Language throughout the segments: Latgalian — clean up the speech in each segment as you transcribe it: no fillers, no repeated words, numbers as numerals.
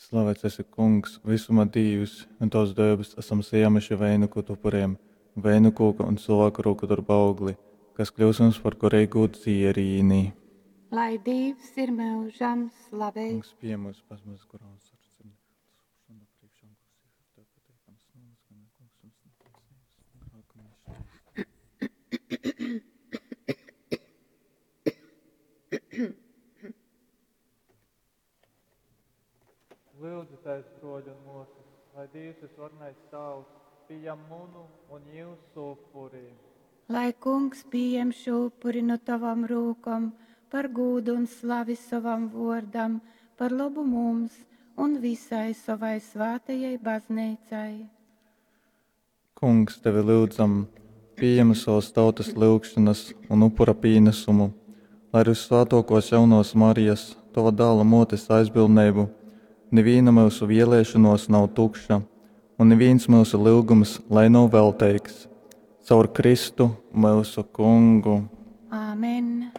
Slavēts esi, Kungs, visuma Dīvs, un Tavas dēves esam sajēmuši veinuku upuriem, veinu kūka un cilvēku rūku darba augli, kas kļūs mums par garīgo dzierīni. Lai Dīvs ir mūžam slavēts. Kungs, pieņem mūsu pazemības garā un sirds. Priekšā, un kungs, ir tev pateicams, nomas, gan kungs, mums netaisnības, un grēku nešķīst. Lūdzieties, broļi un māsas, lai Dievs visvarenais Tēvs pieņem munu un jūsu upuri. Lai kungs pieņem šo upuri no tavām rūkom par gūdu un slavi savam vārdam, par labu mums un visai savai svētajai baznīcai. Kungs, tevi lūdzam, pieņem savas tautas lūgšanas un upura pienesumu, lai ar visvētākos jaunos Marijas, tava dēla motes aizbildnību, neviena mūsu vēlēšanos nav tukša, un neviens mūsu lūgums lai nav velteigs. Caur Kristu mūsu kungu. Āmen.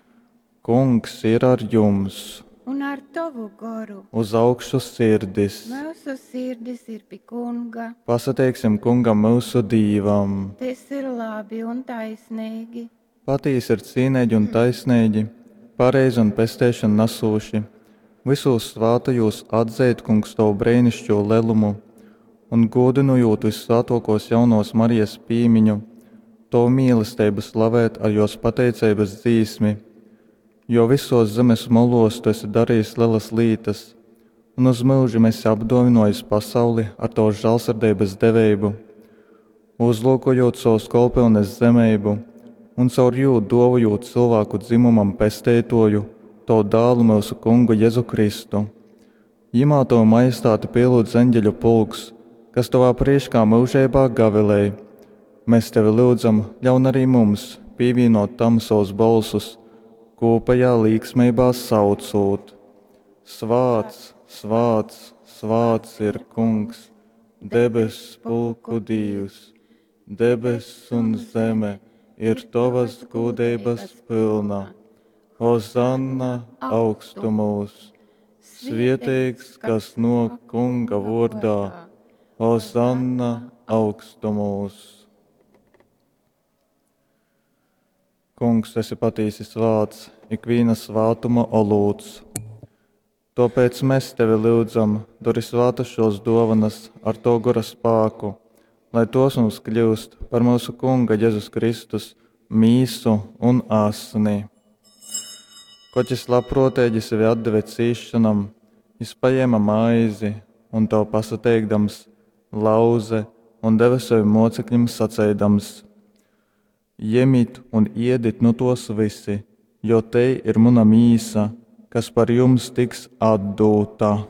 Kungs ir ar jums, Un ar tavu goru uz augšu sirdis. mūsu sirdis ir pie kunga. Pasateiksim kungam mūsu dīvam. Tas ir labi un taisnīgi. Patīsi ir cīnīgi un taisnīgi, pareizi un pestēšanu nesūši. Visos svātajos atzīt, kungs, tavu brēnišķo lelumu un godinojot vissvētākos jaunos Marijas pīmiņu, tavu mīlestību slavēt ar jos pateicības dzīsmi, jo visos zemes molos tu esi darījis lielas lītas, un uz mūžiem esi apdāvinojis pasauli ar tavu žēlsirdības devību, uzlūkojot savus kolpilnes zemību un caur jū dovojot cilvēku dzimumam pesteitoju, tavu dēlu mūsu kungu Jēzu Kristu. Jimā tavu majestāti pielūdz eņģeļu pulks, kas tavā priekšā mūžībā gavilēj. Mēs tevi lūdzam, ļaun arī mums pievienot tam savus balsus, kopējā līksmībā saucot. Svāts, svāts, svāts ir kungs, debes pulku dīvs, debes un zeme ir tavas gudrības pilna. Hozanna augstumos, svietīgs, kas no kunga vārdā, Hozanna augstumos. Kungs, esi patīsi svāts, ikviena svātuma olūts. Tāpēc mēs tevi lūdzam, dori svātas šos dovanas ar to gora spēku, lai tos mums kļūst par mūsu Kunga Jēzus Kristus mīsu un asni. Koķis labprātīgi sevi atdeva cīšanam, jis paņēma maizi un to pasateikdams, lauze un deva sevi mocekļiem saceidams: Jemit un iedit nu tos visi, jo te ir mana mīsa, kas par jums tiks atdūta.